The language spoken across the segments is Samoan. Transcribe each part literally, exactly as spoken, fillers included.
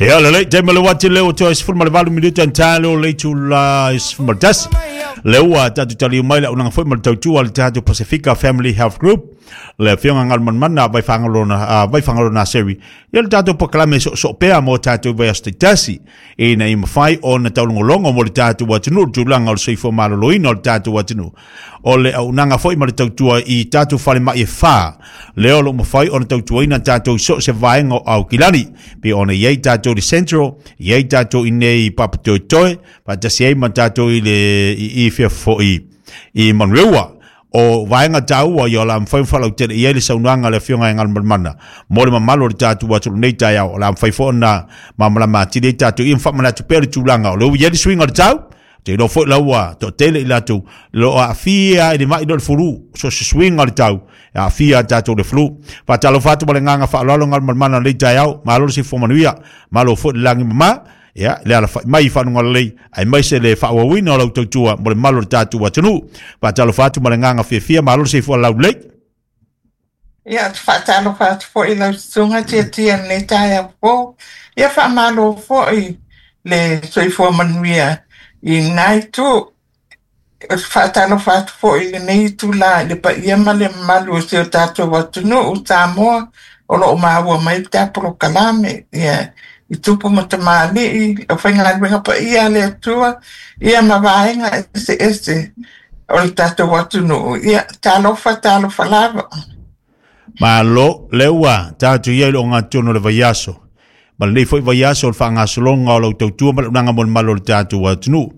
Ia lelei, taimi o le uati lea ua toe sefulu ma le valu minute tae lea o le itula sefulu ma le tasi. Lea ua tatou taliu mai le auaunaga foi ma le tautua a le tatou Pasifika Family Health Group, le afioga Galumalemana Vaifagaloa Vaifagaloa Naseri, ia le tatou polokalame soosoo pea mo tatou vaiaso taitasi, ina ia mafai ona taulogologo mo le tatou atunuu le tulaga o le soifua maloloina o le tatou atunuu. O le auaunaga foi ma le tautua i tatou falemai e fa, lea o lo o mafai ona tautuaina tatou i so o se vaega o Aukilani, pe ona i ai tatou i le Central, i ai tatou i nei i Papatoetoe, faatasi ai ma tatou i le i i fea foi i Manurewa. O vaega taua ia o le a mafai ona faalautele i ai le saunoaga a le afioga i Galumalemana mo le mamalu o le tatou atunuu nei taeao. O le a mafai foi ona malamalama atili ai tatou ia ma faamanatu pea le tulaga o lea ua i ai le suiga o le tau. Te iloa foi la ua toatele i latou lo o aafia i le mai lea o le flu, so se suiga o le tau e aafia a tatou le flu. Faatalofa atu ma le agaga faaaloalo Galumalemana lenei taeao, malo le soifua manuia, malo foi le lagi mama, ia le alafai mai i fanuga lelei, aemaise le faaauauina o lau tautua mo le mamalu o le tatou atunuu. Faatalofa atu ma le agaga fiafia, malo le soifua laulelei. Ia, ou te faatalofa atu foi i lau susuga Tiatia i lenei taeao fou. Ia, faamalo foi le soifua manuia i lena itu. Ou te faatalofa atu foi i lenei itula i le paia ma le mamalu o si o tatou atunuu Samoa o lo o maua mai le ta polokalame, ia, i tupu ma tamalii, le aufaigaluega paia a le Atua, ia ma vaega eseese o le tatou atunuu. Ia, talofa, talofa lava. Malo, lea ua tatou i ai i le ogatotonu o le vaiaso. Ma lenei foi vaiaso o le faagasologa o lau tautua ma le auaunaga mo le mamalu o le tatou atunuu.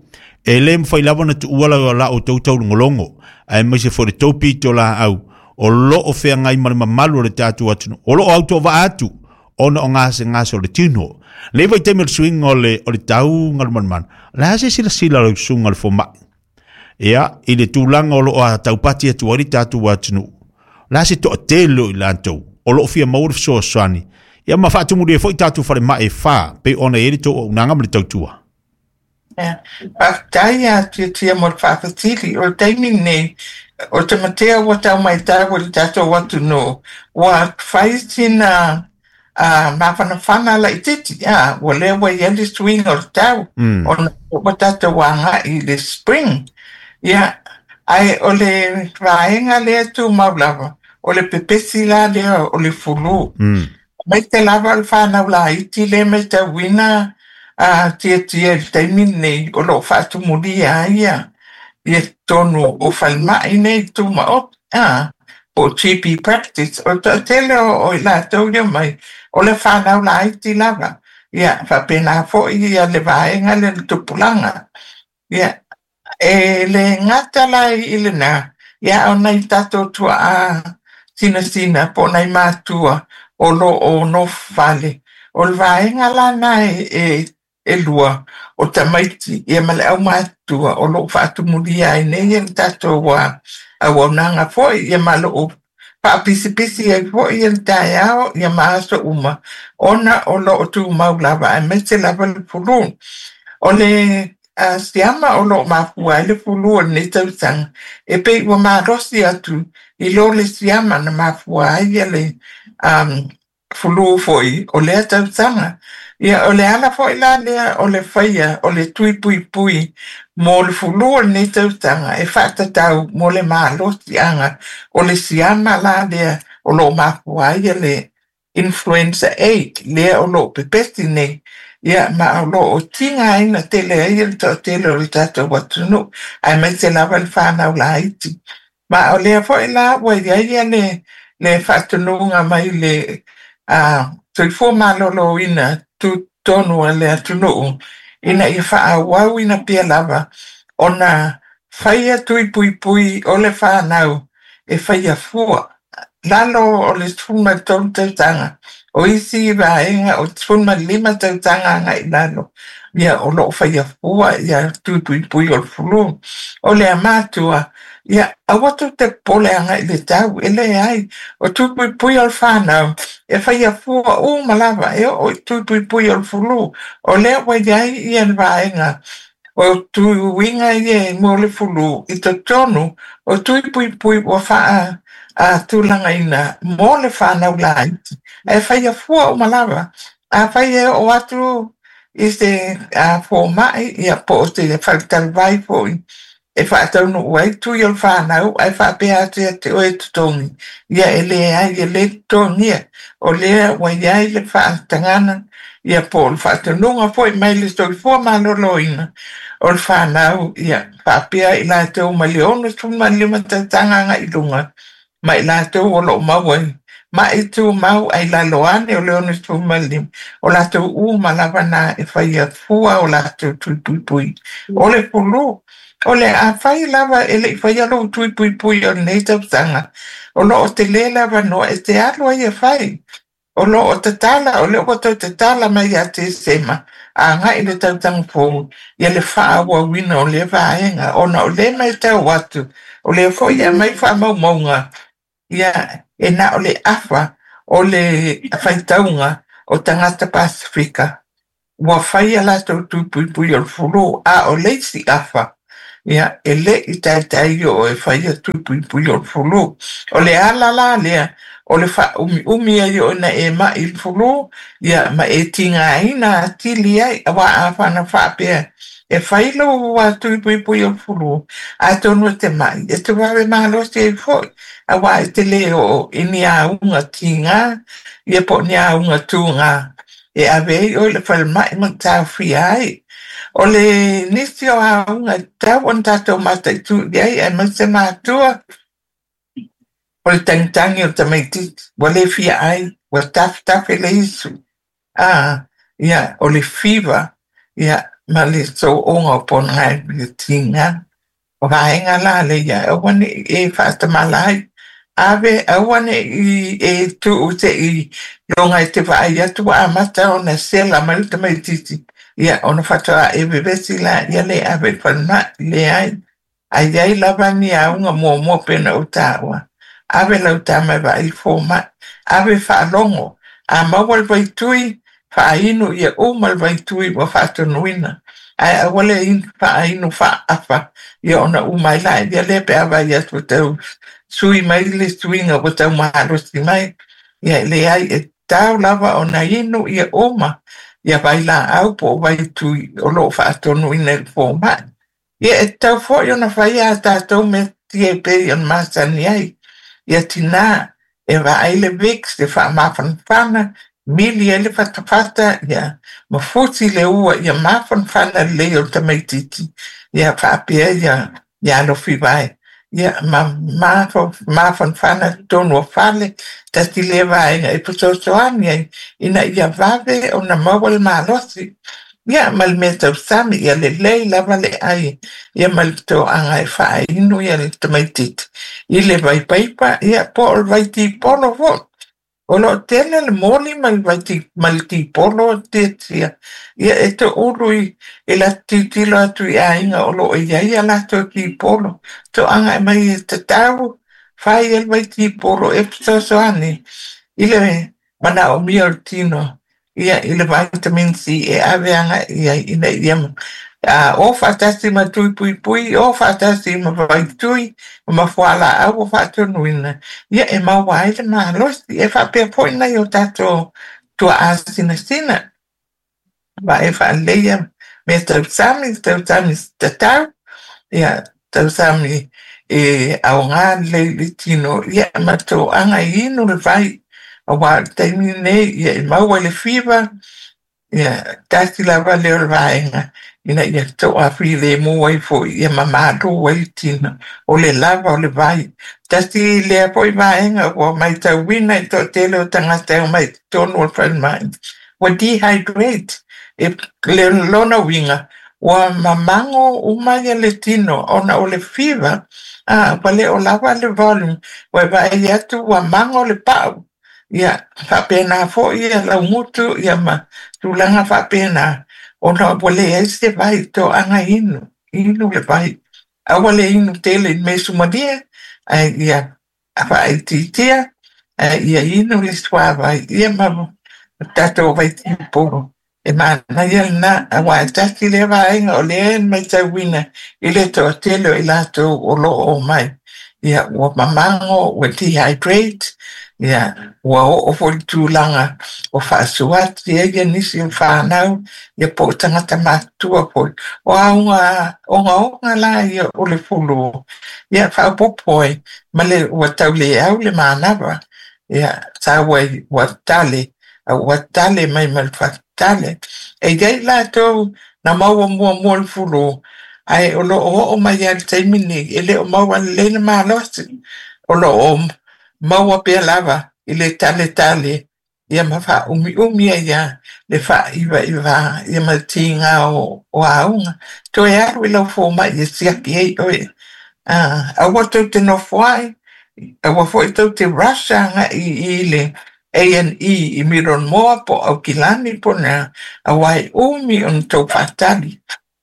E le mafai lava ona tuua la la outou taulogologo, aemaise foi le tou pitolaau o lo o feagai ma le mamalu o le tatou atunuu, o lo o autovaa atu ona o gasegase o le tino. Lenei vaitaimi o le suiga o le, o le tau Galumalemana, o le a se silasila lau susuga i le fomai, ia, i le tulaga o lo o taupati atu ai le tatou atunuu? O le a se toatele o i latou o lo o fia maua le fesoasoani, ia ma faatumulia foi tatou falemai e fa, pei ona i ai le tou auaunaga ma le tautua? Ia, faafetai ia Tiatia mo le faafesili. O le taimi lenei, o te matea ua tau matau i le tatou atunuu, ua fai sina uh, mafanafana laitiiti, a, ua lea ua i ai le suiga o le tau, Mm. ona ua tatou agai i le spring. Ia, ae o le vaega lea tumau lava, o le pepesi la lea o le flu. Mm. Aemaise lava o le fanau laiti lea matauina a Tiatia i le taimi lenei o lo o faatumulia ai ia ia totonu o falemai nei tumaoti, a, po o G P practice. O le toatele o, o i latou ia mai, o le fanau laiti lava. Ia, faapena foi ia le vaega lea le tupulaga. Ia, e le gata la i lena, ia o nai tatou tuaa sinasina po o nai matua o lo o nofo fale. O le vaega la na e, e, e lua o tamaiti ia ma le aumatua o lo o faatumulia ai nei ia le tatou uh, auaunaga foi ia ma lo o faapisipisi ai foi ia le taeao ia ma aso uma ona o lo o tumau lava aemaise lava le flu. O le uh, siama o lo o mafua ai le flu o lenei tausaga, e pei ua malosi atu i lo le siama na mafua ai ia le um, flu foi o lea tausaga. Ia, o le ala foi la lea o le faia o le tui puipui mo le flu o lenei tausaga e faatatau mo le malosiaga o le siama la lea o lo o mafua ai ia le influenza A lea o lo o pepesi nei. Ia, ma o lo o tigaina tele ai le toatele o le tatou atunuu, aemaise lava le fanau laiti. Ma o lea foi la ua i ai ia le, le faatonuga mai le uh, soifua maloloina tutotonu a le atunuu ina ia faaauauina pea lava ona faia tui puipui o le fanau e faia fua. Lalo o le sefulu ma le tolu tausaga, o isi vaega o sefulu ma le lima tausaga agai i lalo, ia o lo o faia fua ia tui puipui o le flu. O le amatua, ia aua tou te popole agai i le tau, e leai, o tui puipui o le fanau, e faia fua uma lava, e oo i tui puipui o le flu. O lea ua i ai ia le vaega o tuiga ia mo le flu i totonu o tui puipui ua faa a tulagaina mo le fanau laiti. E faia fua uma lava. Afai e oo atu i se fomaʻi, ia po o se faletalavai foʻi e faataunuu ai tui o le fanau ae faapea atu ia te oe e totogi, ia e leai e lē totogia. O lea ua iai le faatagana ia po o le faatonuga foʻi mai le Soifua Maloloina o le fanau, ia faapea i latou mai le ono sefulumalima tausaga agaʻi luga ma i latou o loo maua i maʻi tumau ai lalo ane o le ono sefulu ma le lima, o latou uma lava na e faia fua o latou tui puipui o le flu. O le afai lava e leʻi faia lou tui puipui o lenei tausaga, o loo telē le avanoa e te alu ai e fai. O loo tatala, o lea ua toe tatala mai ia Tesema agaʻi le tausaga fou ia le faaauauina o lea vaega, ona o lea matau atu o lea foʻi e aumai faamaumauga ia e na o le afa o le faitauga o tagata Pasefika ua faia latou tui puipui o le flu, a o le isi afa ia e leʻi taitai oo e faia tui puipui o le flu. O le ala la lea o le faaumiumi ai o ina e maʻi i le flu ia ma e tigaina atili ai, auā afana faapea e fai lou tui puipui o le flu, atonu e te maʻi e te vave malosi ai foʻi, auā e te lē oo i ni auga tigā ia po o ni auga tugā e ave ai oe i le falemaʻi ma taofia ai. O le nisi o auga e tatau ona tatou mataitū i ai aemaise matua, o le tagitagi o le tamaititi ua lē fia ai, ua tafetafe le isu a ia o le fiva ia ma le sooga o ponagaivi tigā. O vaega la leia aua neʻi e faatamala ai ave, aua neʻi e tuu seʻi loga e te vaai atu ua amata ona sela mai le tamaititi ia ona faatoa e vevesi la ia le ave i le falemaʻi. Leai, ae iai lava ni auga muamua pena ou taua ave lau tama e vaai fomaʻi, ave faalogo a maua le vaitui faainu ia uma le vaitui ua faatonuina, ae aua le faainu faaafa ia ona uma ai la ia lea pe a vaai atu tau sui mai le suiga ua tau malosi mai. Ia leai, e tatau lava ona inu ia uma ia vailaau po o vaitui o loo faatonuina i le fomaʻi. Ia e tatau foʻi ona faia a tatou mea e pei ona masani ai ia tinā e vaai le Vicks e faamafanafana mili ai le fatafata ia ma fusi le ua ia mafanafana lelei o le tamaititi ia faapea ia ia alofi vae ia ma mafanafana totonu o fale. Tasi lea vaega e fesoasoani ai ina ia vave ona maua le malosi ia ma le mea tausami ia lelei lava le ai ia ma le toaga e faainu ia le tamaititi i le vaipaipa ia po o le vaitipolo foʻi. O loo tele le moli ma le vaiti ma le tipolo tiatia ia e toulu i e la tilotilo atu i aiga o loo iai a latou tipolo toaga e mai e tatau fai e le vaitipolo e fesoasoani i le manaomia o le tino ia i le vitamin C e ave agaʻi ai ina ia a o faatasi ma tui puipui o faatasi ma vaitui ma fualaau ua faatonuina ia e maua ai le malosi. E faapea foʻi nai o tatou tuaa sinasina vae faaleleia mea tausami tausami tatau ia tausami e aogā lelei i le tino ia ma toaga e inu le vai, auā o le taimi lenei ia e maua i le fiva ia tasi lava lea o le vaega ina ia toafilemu ai foʻi ia mamalū ai le tino o le lava o le vai. Tasi lea foʻi vaega ua matauina i toatele o tagata e omai i totonu o le falemai ua dehydrate e le lona uiga ua mamago uma ia le tino ona o le fiva a ua le o lava le volume ua e vaai atu ua mago le pau ia faapena foʻi ia laugutu ia ma tulaga faapena ona ua leai se vai. Toaga inu inu le vai, aua le inu tele i le mea sumalie ae ia faaitiitia ae ia inu le suavai ia ma tatou vaitipolo e manaia lena, auā e tasi lea vaega o lea e matauina i le toatele o i latou o loo omai ia ua mamago ua dehydrate. Ia, ua oo foi le tulaga o faasuati ai ia nisi o fanau, ia po o tagata matutua foi. O auga ogaoga la ia o le fulu, ia faaopoopo ai ma le ua tauleau le manava. Ia, sau ai ua tale, a ua tale mai ma le fatale. E i ai latou na maua muamua le fulu, ae o loo oo mai lava i le taimi lenei, e le o maua lelei le malosi. O loo maua pea lava i le taletale, ia ma faaumiumi ai lava le faaivaivā ia ma le tiga o, o auga. Toe alu i lau fomai e siaki ai oe. Ah, aua tou te nofo ai, aua foi tou te rush agai i le A and E i Middlemore po o Aukilani po o le a, aua e umi ona tou faatali.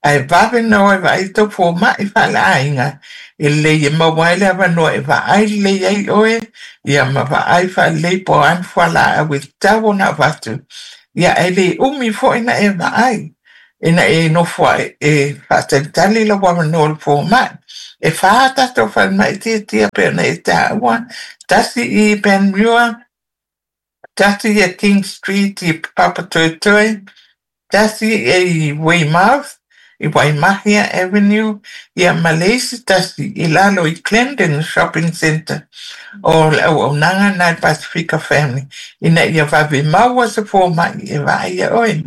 Ae vave na o e vaai tou fomai faaleaiga, e lelei e maua ai le avanoa e vaai lelei ai oe, ia ma vaai faalelei po o a ni fualaau e tatau ona avatu. Ia ae le umi foi na e vaai, ina e nofo ai e faatalitali lau avanoa o le fomai. E whā tatou falemai tiatia pe ona e taua, tasi i Panmure, tasi i King Street i Papatoetoe, tasi i Weymouth, i Waimahia Avenue, ia ma le isi tasi i lalo i Clendon Shopping Centre o le auaunaga na le Pasifika Family, ina ia vave maua se fomai e vaai ia oe.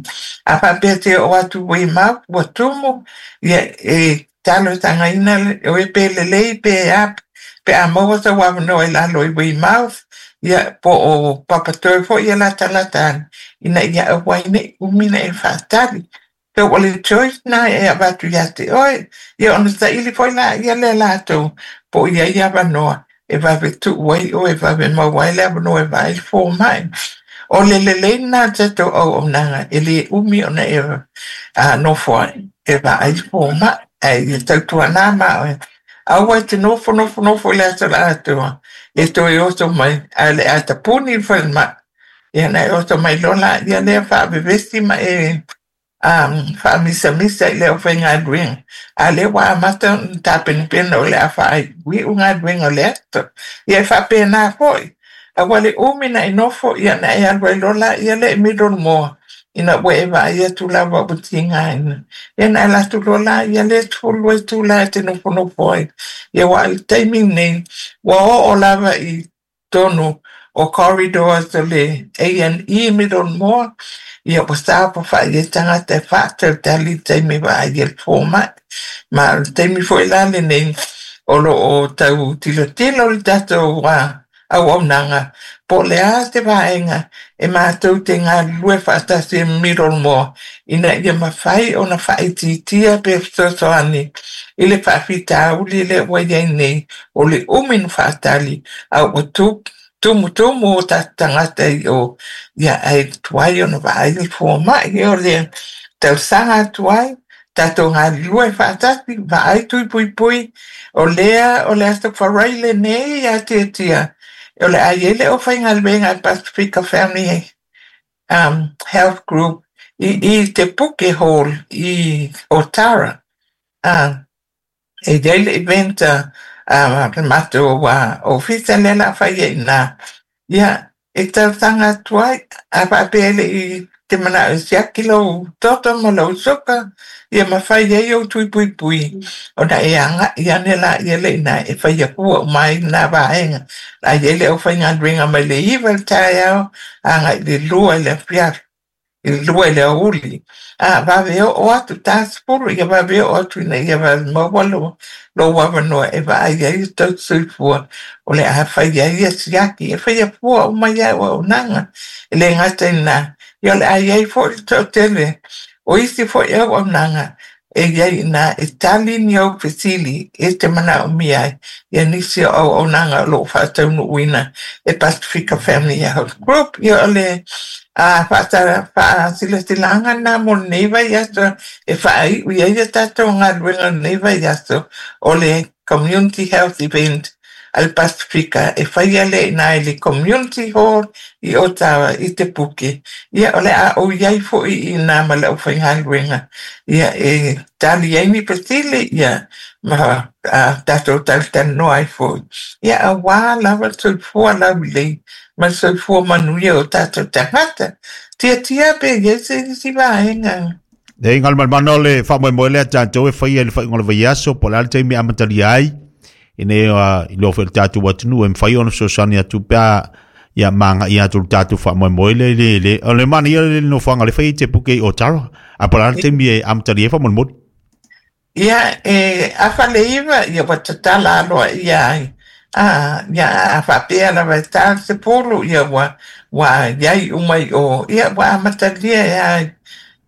A faapea te oo atu i Weymouth ua tumu, ia e talosagaina oe pe lelei pe a, pe a maua sau avanoa i lalo i Weymouth, ia po o Papatoetoe foi ia latalata ane, ina ia aua ai nei umi na e faatali. So o le choice na e avatu ia te oe, ia ona saili foi la ia le latou, po o i ai avanoa e vave tuu ai oe, e vave maua ai le avanoa e vaai le fomai. O le lelei lena o le tatou auaunaga, e le umi ona e a, nofo ai, e vaai le fomai, ae ia tautuana ma oe. Aua e te nofo nofo nofo i le aso la atoa, e toe oso mai, ae le a tapuni le falemai. Ia na e oso mai loa la ia lea faavevesi ma e um, faamisamisa i le aufaigaluega. A lea ua amata ona tapenapena o le a faaiuiu galuega o le aso. Ia e faapena foi. Aua le umi na e nofo, ia na e alu ai loa la ia lea i Middlemore, ina ua e vaai atu lava ua tigaina. Ia na e alu atu loa la ia lea sefulu itula e te nofonofo ai. Ia aua o le taimi lenei, ua oo lava i totonu o corridors o le A and E Middlemore, ia ua saofafai ai tagata e faatalitali i le taimi e vaai ai le fomai. Ma o le taimi foi la lenei, o loo tau tilotilo le tatou uh, auaunaga, po o le a se vaega e matou te galulue faatasi e Middlemore, ina ia mafai ona faaitiitia pe fesoasoani i le faafitauli lea ua i ai nei, o le umi na faatali, a ua tu tumutumu o tatou tagata i o, ia ae tuai ona vaai le fomai. O le talosaga atu ai, tatou galulue faatasi, vaai tui puipui, o lea o le aso Farai lenei ia tiatia, o le a i ai le aufaigaluega a le Pasifika Family um, Health Group i, i te Puke Hall i Otara. Uh, e i ai le event a uh, le matou uh, ofisa lea o le a fai ai i ina. Ia, e talosaga atu ai, a faapea e le i te manao e siaki lou toto ma lou suka, ia ma fai ai ou tui puipui, ona e agai ane la ia le ina e faia fua uma ai lena vaega. La i ai le aufaigaluega mai le iva i le taeao, agai i le lua i le afiafi, i le lua i le aoauli. A vave oo atu ta sefulu, ia vave oo atu ina ia vave maua lou, lou avanoa e vaai ai o tou soifua, o le a fai ai ia siaki, e faia fua uma ia auaunaga. E le gata i lena, ia o le a i ai foi le toatele o isi foi auaunaga e i ai ina e tali ni au fesili e te manaomia ai ia nisi o auaunaga o loo faataunuuina e Pasifika Family Health Group. Ia o le a faasilasilaga lena mo lenei vaiaso e faaiu i ai ia tatou galuega o lenei vaiaso, o le Community Health Event a le Pasifika e faia lea i ina i le Community Hall i Otawa i Te Puke. Ia o le a ou i ai foi i ina ma le aufaigaluega, ia e tali ai ni fesili, ia Ma a tatou talatalanoa ai foi. Ia auā lava le soifua laulelei ma le soifua manuia o tatou tagata. Tiatia pe i ai se isi vaega. E Galumalemana o le faamoemoe lea tatou e faia i le faaiuga o le vaiaso po o le a le taimi e amatalia ai ina ia iloa foi e le tatou atunuu e mafai ona fesoasoani atu pe a ia magai atu le tatou faamoemoe lea i le le o le manaia le nofoaga le fai i te puke i Otara a po o le a le taimi e amatalia ai faamolemole. Ia e afa le iva ia ua tatala aloaia ai. A ia a faapea lava e ta le sepulu ia ua ua iai uma i o ia ua amatalia e ai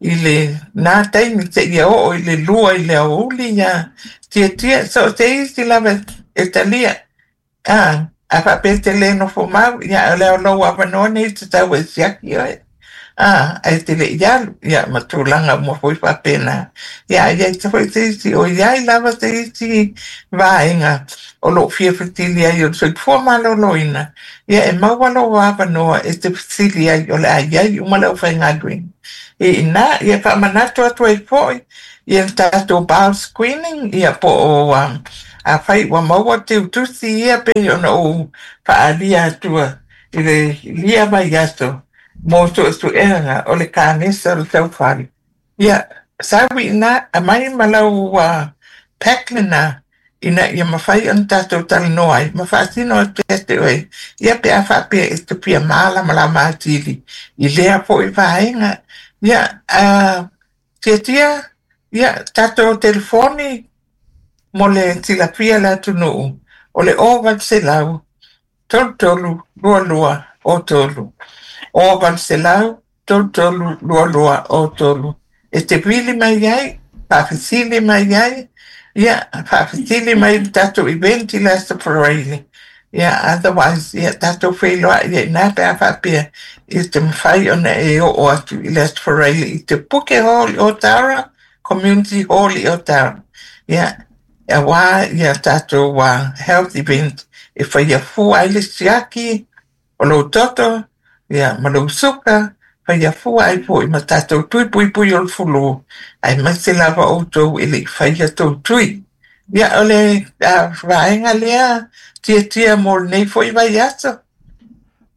i le na taimi seia oo i le lua i le aoauli ia tiatia so o se isi lava e talia. A a faapea e te le nofo mau ia o le o lou avanoa nei tatau e siaki oe. A ae te le i alu ia ma tulaga uma foi faapena. Ia a i ai foi se isi o i ai lava se isi vaega o loo fia fesili ai o le soifua maloloina ia e maua lou avanoa e te fesili ai o le a i ai uma le aufaigaluega. I ina ia faamanatu atu ai foi ia le tatou bowel screening ia po o um, afai ua maua tiutusi ia pei ona ou faaalia atua i le lia vaiaso mo suesuega o le kanesa o le taufale. Ia sau i ina aumai ma lau uh, pack lena ina ia mafai ona tatou talanoa ai ma faasino atu ia te oe ia pe a faapea e te fia malamalama atili i lea foi vaega. Ia uh, tiatia ia tatou telefoni mo le silafia le atunuu o le o valu selau tolu tolu lua lua o tolu. O valu selau tolu tolu lua lua o tolu. E te vili mai ai, faafesili mai ai, ia faafesili mai le tatou event i le Aso Faraile. Ia otherwise ia tatou feiloai ia ina pe a faapea i te mafai ona e oo atu i le Aso Faraile i te Puke Hall i Otara, Community Hall i Otara. Ia auā ia tatou uh, health event e faia fua ai le siaki o lou toto, ia ma lou suka, faia fua ai foi ma tatou tui puipui o le fulu, aemaise lava outou e le i faia tou tui. Ia o le uh, vaega lea tiatia mo lenei foi vaiaso.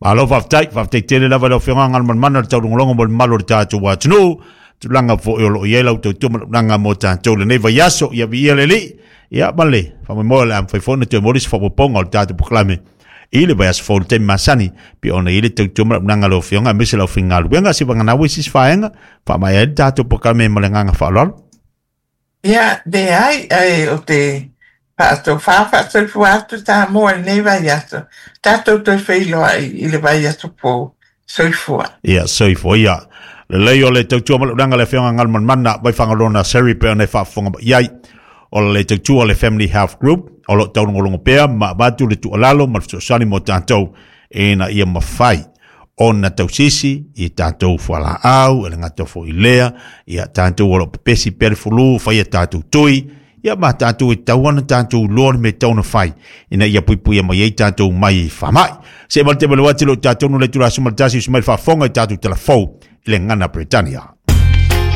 Malo faafetai, faafetai tele lava i lau Afioga Galumalemana le taulogologo mo le mamalu o le tatou atunuu. Tulaga foi o loo i ai lau tautua ma tulaga mo tatou lenei vaiaso ia viia le Alii. Ia ma le faamoemoe o le a mafai foi ona toe momoli se faaopoopoga o le tatou polokalame i le vaiaso fou i le taimi masani pe ona i ai le tautua ma tulaga a lau Afioga aemaise lau aufaigaluega seivagana isi vaega faamaea ai le tatou polokalame ma le agaga faaaloalo. Ia leai ae o te faatofā faasoifua atu Samoa i lenei vaiaso. Tatou toe feiloai i le vaiaso fou. Soifua. Ia soifua ia. Lelei o le tautua ma le ulaga le Afioga Galumalemana Vaifagaloa Naseri pe ona e faafofoga mai ai. O le tautua o le Family Health Group o loo taulogologo pea ma avatu le tuualalo ma le fesoasoani mo tatou ina ia mafai ona tausisi i tatou fualaau e le gata foi i lea ia tatou o loo pepesi pea le fulu faia tatou tui ia ma tatou e tatau ona tatou iloa le mea e tatau ona fai ina ia puipuia mai ai tatou mai faamai. Se ma le tele atu lo tatou no le itula aso ma le tasi usu mai le faafofoga i tatou talafou i le gagana Peretania.